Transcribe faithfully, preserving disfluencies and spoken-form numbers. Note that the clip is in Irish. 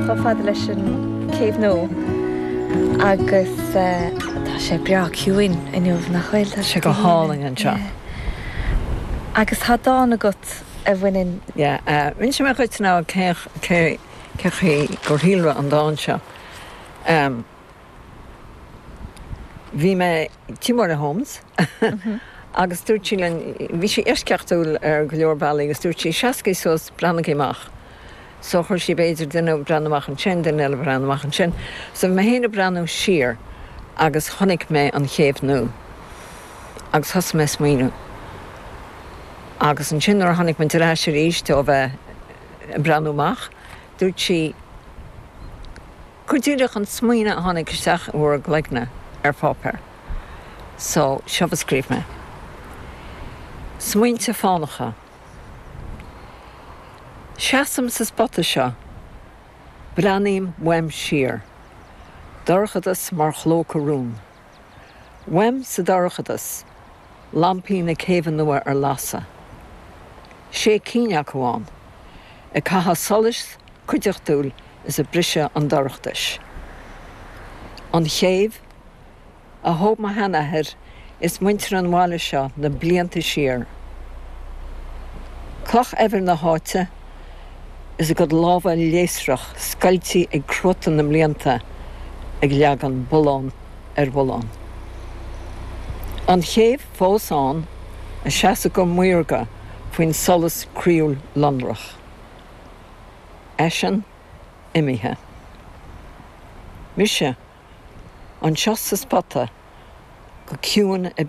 chomh fada leis an Céibh Nua agus tá sé breá ciúin inniu nach bhfuil Tá sé go hálainn anseo. Agus tá dán agat a bhaineann Rinne mé chuid ná cé cé gur shíolraigh an dán seo. Um, Bhí mé tigh Mháire Holmes agus dúirt sí linn bhí sí eisceachtúil ar go leor bealaí agus dúirt sí seasaigí suas breathnaigí amach. So chuir sí b'fhéidir duine breathnú amach ansin duine eile breathnú amach ansin, so mé féin ag breathnú siar agus chonaic mé an chéibh nua. Agus thosaigh mé smaoineamh. Agus ansin nuair a tháinig mé ar ais arís ó bheith breathnú amach, dúirt sí cuir díreach an smaoineamh a tháinig isteach i bhur gcloigne ar pháipéar. So seo a scríobh mé. Smaointe fánacha. Seasaim sa spota seo, Breathnaím uaim siar. Dorchadas mar chlóca rún. Uaim sa dorchadas, lampaí na céibhe nua ar lasadh. Sé cinn acu ann, ag caitheamh solais cuideachtúil is ag briseadh an dorchadais. An chéibh a thóg mo sheanathair is muintir an bhaile seo na blianta siar. Cloch eibhir na háite is a gcuid lámha léasrach scoilte ag cruatan na mblianta ag leagan bullán ar bhullán. An chéibh fós ann ag seasamh go maorga faoin solas croíúil lonrach. Eisean imithe. Mise anseo sa spota go ciúin ag